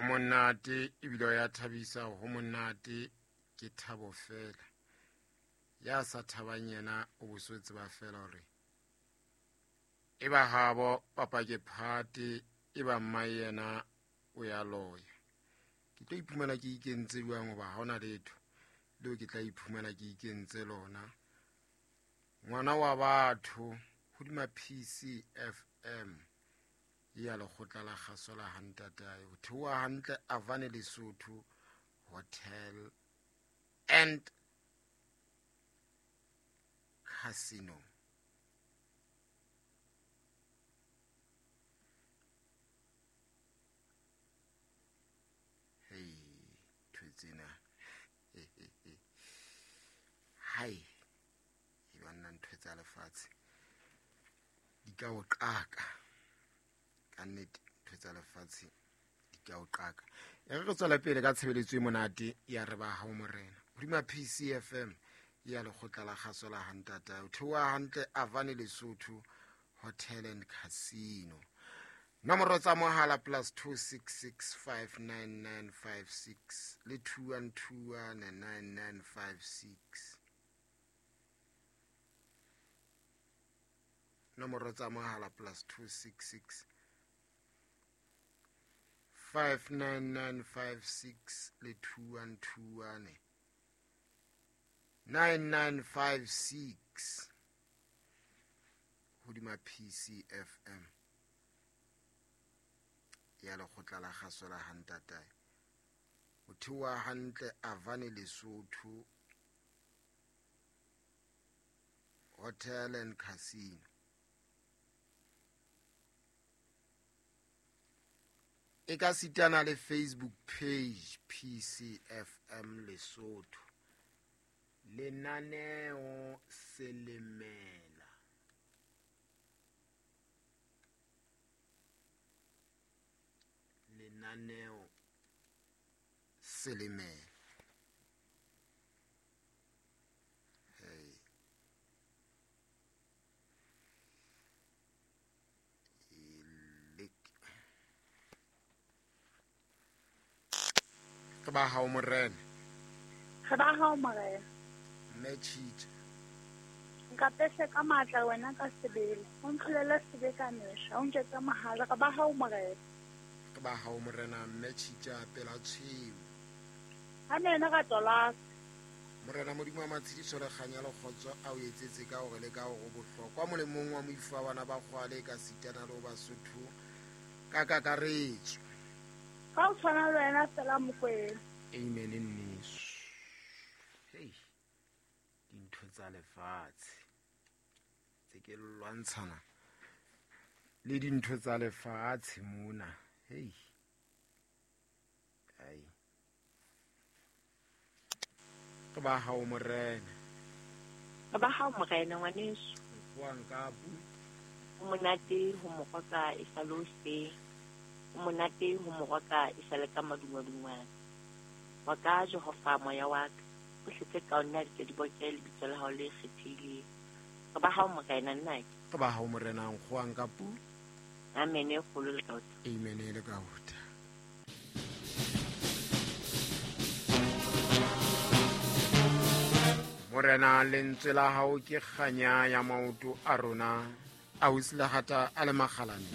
Monate ebile ya thabisa, ho monate ke thabo fela. Ya sa thabang yena o boso tseba fela hore e ba habo papa ke phate, e ba mma yena o ya loya. Ke tlo iphumana ke ikentse jwang hoba ha hona letho leo ke tla iphumana ke ikentse lona. Ngwana wa batho hodima PCFM ya lekgotla la kgaso la hantatae ho theoha hantle Avane Lesotho Hotel and Casino. Hei, ntho tsena. Hai, e banna ntho tsa lefatshe di ka o qaka. Ka nnete ntho tsa lefatshe di ka o qaka. E re tswela pele ka tshebeletso e monate ya re ba hao morena. Hodima PCFM ya lekgotla la kgaso la hantata. O theoha hantle Avane Lesotho Hotel and Casino. Nomoro tsa mohala +266 59956 le 2121 9956. Nomoro tsa mohala +266 59956 le 2121 9956 hodima PCFM ya lekgotla la kgaso la hantatae. Ho theoha hantle Avane Lesotho Hotel and Casino. E ka sitana le Facebook page PCFM Lesotho. Lenaneo Selemela. Lenaneo Selemela. Hey. Re ba hao morena. Re ba hao morena. Mme Tshitja. Nkapese ka matla wena ka sebele. O ntlolele sebe ka mehla. O nketse mohala. Re ba hao morena. Re ba hao morena mme Tshitja pela tshweu. Amen ra tlola. Morena Modimo wa matshediso le kganya le kgotso a o etsetse ka hore le ka hore bohlokwa molemong wa moifo wa bana ba kgwale ka sitana le ho Basotho ka kakaretso. Ka o tshwana le wena fela Mokwena. Amen nneso. Hey, dintho tsa lefatshe tse ke lwantshana le dintho tsa lefatshe mona. Hey, ai re ba hao morena. Re ba hao morena ngwaneso. Nkgoang ka pu. Ho monate ho moroka e sa le hoseng. Ho monate ho moroka e sa le ka madungwadungwana. Wa ka Jehova moya wa ka. O hletse ka nna di tle di boke lebitso la hao le kgethehileng. Re ba hao morena nnake. Re ba hao morena nkgoang ka pu. Amen e kgolo le ka ota. Amen e le ka ota. Morena lentswe la hao ke kganya ya maoto a rona, a o silahata a le makgalane.